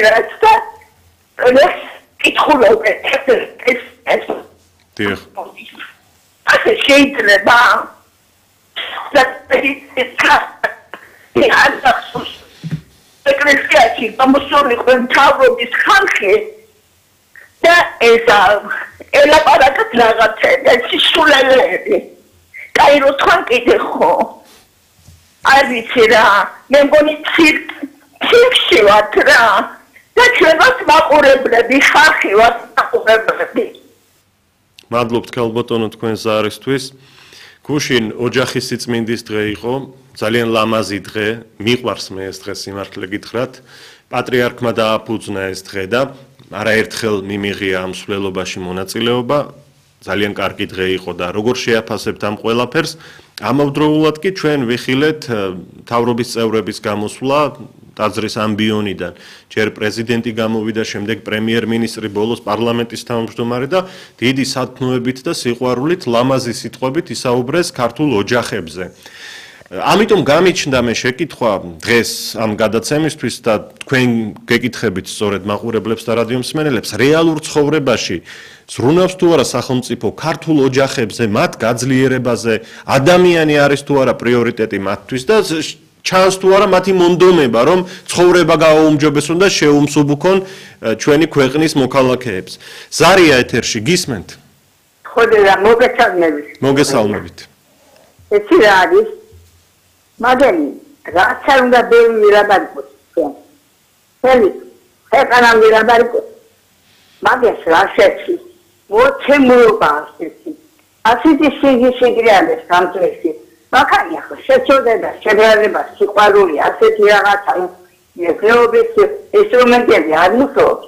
და კითხულობენ ეს დიახ. ასე შეიძლება ეკლესიაში გამოსულიყო მთავრობის ხალხი და ეს ელაპარაკეთ რაღაცა სისულელეები. კაირო თან კიდე ხო არ ვიცი რა მე მგონი ცირკში ვართ რა და ჩვენ ვართ მაყურებლები ხალხი ვართ მაყურებლები. მადლობთ ქალბატონო თქვენ ზარისთვის. გუშინ ოჯახის სიწმინდის დღე იყო, ძალიან ლამაზი დღე, მიყვარს მე ეს დღე სიმართლე გითხრათ. პატრიარქმა დააფუძნა ეს დღე და არაერთხელ მიმიღია ამ მსვლელობაში მონაწილეობა. ძალიან კარგი დღე იყო და როგორ შეაფასებთ ამ ყველაფერს? ამავდროულად კი ჩვენ ვიხილეთ მთავრობის წევრების გამოსვლა ტაძრის ამბიონიდან. ჯერ პრეზიდენტი გამოვიდა, შემდეგ პრემიერ-მინისტრი, ბოლოს პარლამენტის თავმჯდომარე და დიდი სათნოებით და სიყვარულით ლამაზი სიტყვებით ისაუბრეს ქართულ ოჯახებზე. ამიტომ გამიჩნდა მე შეკითხვა დღეს ამ გადაცემისთვის და თქვენ გეკითხებით სწორედ მაყურებლებს და რადიო მსმენელებს რეალურ ცხოვრებაში ზრუნავს თუ არა სახელმწიფო ქართულ ოჯახებზე, მათ გაძლიერებაზე, ადამიანი არის თუ არა პრიორიტეტი მათთვის და ჩანს თუ არა მათი მონდომება, რომ ცხოვრება გააუმჯობესონ და შეუმსუბუქონ ჩვენი ქვეყნის მოქალაქეებს. ზარია ეთერში გისმენთ? ხოდა მოგესალმებით. მოგესალმებით. ეს რა არის? მაგენი, რაც არ უნდა ბევრი რაბარიკოს. ხელი, ხეთანამ რაბარიკოს. მაგას რა შეცი? მოწმობა ასეთი. ასეთი სიგრიანეს სამწესი. მაგალითად, ხო შეწოდება, შებრალება, სიყვარული, ასეთი რაღაცა, მეფეობის ინსტრუმენტები არ მუშაობს.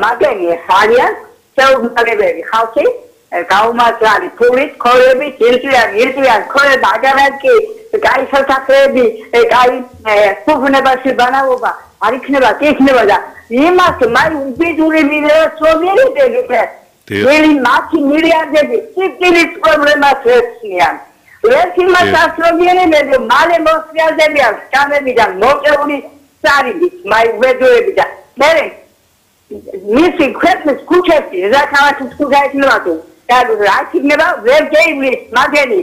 მაგენი ხარიან შეუმთავრებელი ხალხი, გაუმართლარი ფულით, ქორებით, ირწვიან, ქორება, აგარაკი, კაი სასახლეები, კაი ფუფუნებაში ბანაობა, არ იქნება, კი იქნება და იმას მაი უბედური მილიონერები, ველი მათი მილიარდები, სიკვდილის პრობლემას ეცნიან. ეს იმას ასრობიანებები, მალე მოსწრებიან სკამებიდან მოყეული სარიდით, მაი უბედურები და მე მისი ქვეყნის ქუჩებში, რა ქალაქის ქუჩა იქნება თუ და რა იქნება ვერ გეივლის მაგენი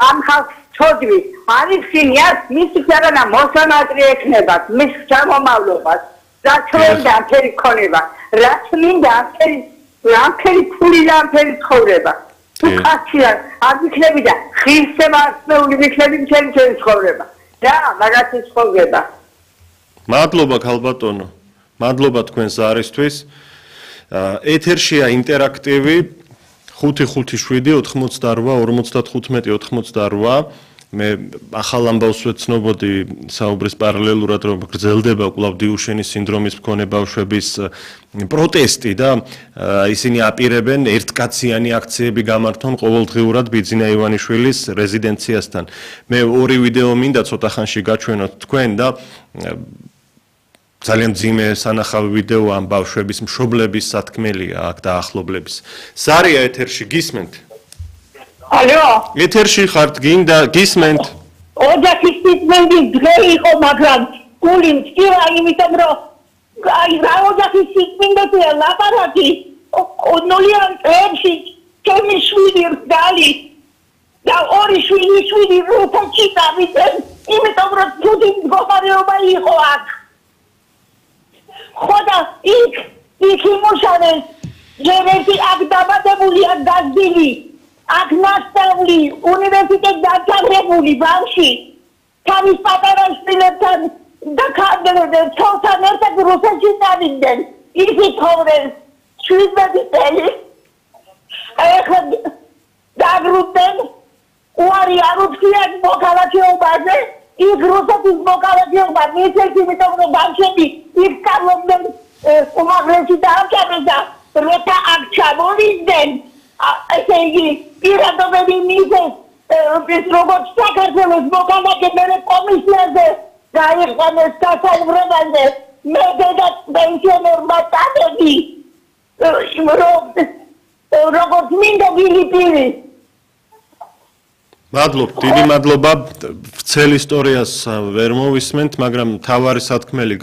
ამ ხალხს ჩოდვი არის სინიას მისი ქვეყანა მოსამართლე ექნება მის ჩამომავლობას რა ჩვენდა ამფერი ქონება რა წმინდა ამფერი ფული და ამფერი ცხოვრება თუ კაცია არ იქნები და ხილსება ასეული იქნები ჩემი ცხოვრება რა მაგათი ცხოვრება მადლობა ქალბატონო მადლობა თქვენ ზარისთვის ეთერშია ინტერაქტივი 557 88 55 88 მე ახალ ამბავს ვეცნობოდი საუბრის პარალელურად რომ გრძელდება კვლავ დიუშენის სინდრომის მქონე ბავშვების პროტესტი და ისინი აპირებენ ერთკაციანი აქციები გამართონ ყოველდღიურად ბიძინა ივანიშვილის რეზიდენციასთან მე ორი ვიდეო მინდა ცოტა ხანში გაჩვენოთ თქვენ და ძალიან ძიმე სანახავი ვიდეო ამ ბავშვების მშობლების სათქმელია აქ და ახლობლების ზარია ეთერში გისმენთ ალო ეთერში ხართ გინდა გისმენთ ოჯახის სიწმინდის დღე იყო მაგრამ გული მცირა იმიტომ რომ აი რა ოჯახის სიწმინდეა ლაპარაკი ნოლიან წებში ჩემი შვილი რგალი და ორი შვილი როთაში დავიდნენ იმიტომ რომ თვითი მდგომარეობა იყო აქ ხოდა იქ იმუშავეს ჯერეთი აქ დაბადებულია გაზდილი აქ ნასწავლი უნივერსიტეტ დაჯერებული ბავში თავის პატარა შვილებთან და ცოლთან ერთად რუსეთში წავიდნენ ისე ცხოვრეს 17 წელი ეხლა დაბრუნდნენ უარი არ უწიათ მოქალაქეობაზე იქ რუსეთის მოქალაქეობა მისცეს იმიტომ რომ ბავშვები იქ სწავლობდნენ უმაღლესი დაამთავრეს და როცა აქ ჩამოვიდნენ ესე იგი პირადობები მისცეს ეს როგორც საქართველოს მოქალაქეები კომისიაზე გაიყვანეს დასაუბრებაზე მე და პენსიონერმა წადები როგორც მინდა გილიპირი მადლობ, დიდი მადლობა. ვრცელ ისტორიას ვერ მოვისმენთ, მაგრამ თავარი სათქმელი